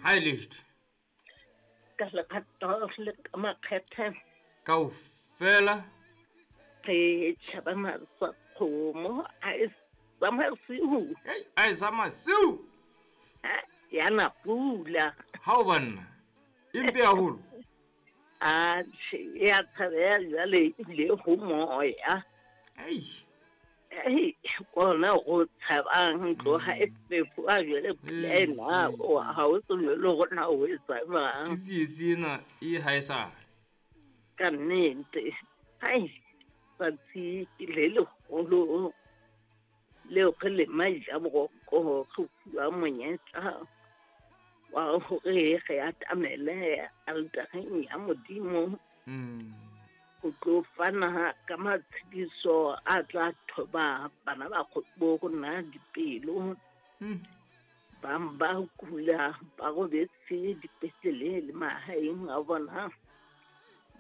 Ha e letho. Ka lerato le ka makgethe. Kaofela. Re tjhabana sa kgomo a e sa masiu. Ei, a e sa masiu. Ya na pula. Ha o banna. E mpe haholo. Atjhe, e a tshabeha jwale ebile ho moya. Ei. Ei, kona go tshabang tloga e fefoa jwale pula ena ha o tsebe le gore na o etsa jwang. Ke tsietsi ena e ha e sale. Ka nnete. Hai, tsatsi ke le leholo leo re le maija boroko re fuwa monyetla wa hore re atamele altareng ya Modimo. Ho tlo fana ka matshediso a tla thoba bana ba bo rona dipelo. Bang ba kula ba robetse dipetlele le mahaeng a bona.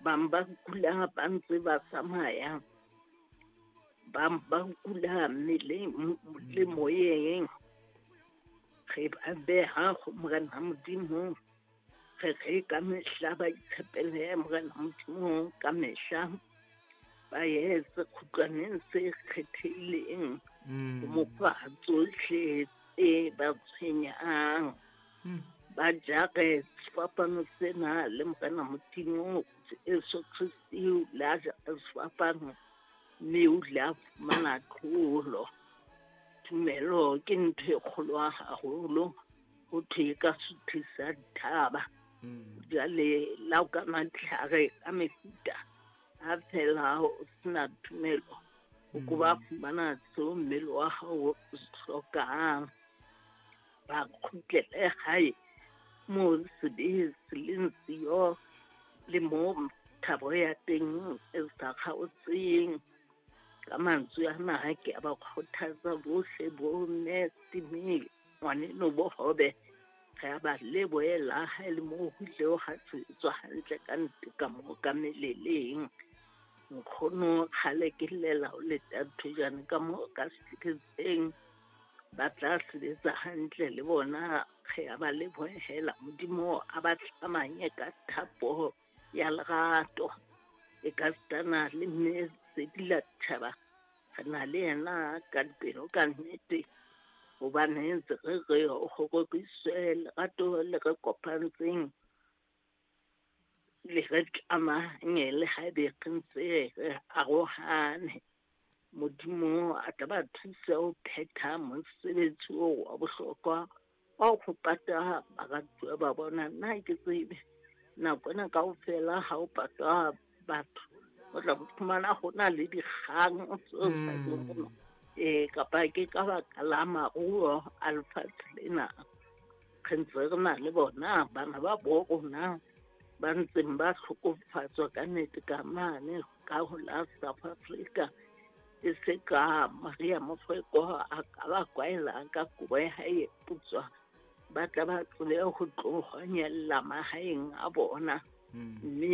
Bang ba kula ba ntse ba tsamaya. Bang ba kula mmeleng le moyeng. Re ba beha ho Morena Modimo. Re re ka mehla ba itshepele Morena Modimo ka mehla. Ba ye sekgutlwaneng se kgethehileng ho mo fa tsohle tse ba tshwenyang. Ba jare sefapano sena le Morena Modimo Jesu Kriste o ile a jara sefapano mme o ile a fumana tlholo. Tumelo ke ntho e kgolo haholo. Ho thwe e ka suthisa dithaba. Jwale la o ka matlhare ka mefuta ha fela o sena tumelo, o ko ba fumana seo mmele wa hao o se hlokang. Ba kgutlele hae moo sebe se leng siyo le moo thabo ya teng e sa kgaotseng. Ka mantswe ana ke a ba kgothatsa bohle bo mme Timi ngwaneno bohobe. Re a ba lebohela ha e le moo ho ile ha sebetswa hantle ka nnete ka moo ka meleleng. Nkgono kgale ke llela ho leta thojane ka moo ka sehlekefetseng. Ba tla sebetsa hantle le bona. Re a ba lebohela Modimo a ba tlamanye ka thapo ya lerato. E ka sitana le mme Sedila Thaba. Re na le yena ka dipelo ka nnete. Hobane ntse re re ho roriswe lerato le re kopantseng le re tlamanye le haebe re ntse re arohane. Modimo a tla ba thusa ho phetha mosebetsi oo wa bohlokwa wa ho pata baratuwa ba bona. Nna ha ke tsebe nako ena kaofela ha o patwa batho o tla fumana ho na le dikgang tseo sa tsebeng. Kapa ke ka baka la maruo a lefatshe lena. Re ntse re na le bona bana ba bo rona ba ntseng ba hlokofatswa ka nnete ka mane ka ho la South Africa. E se ka Maria Mofeko a ka ba kwaela ka kobo ya hae e putswa. Ba tla ba tsebe ho tlo honyella mahaeng a bona. Mme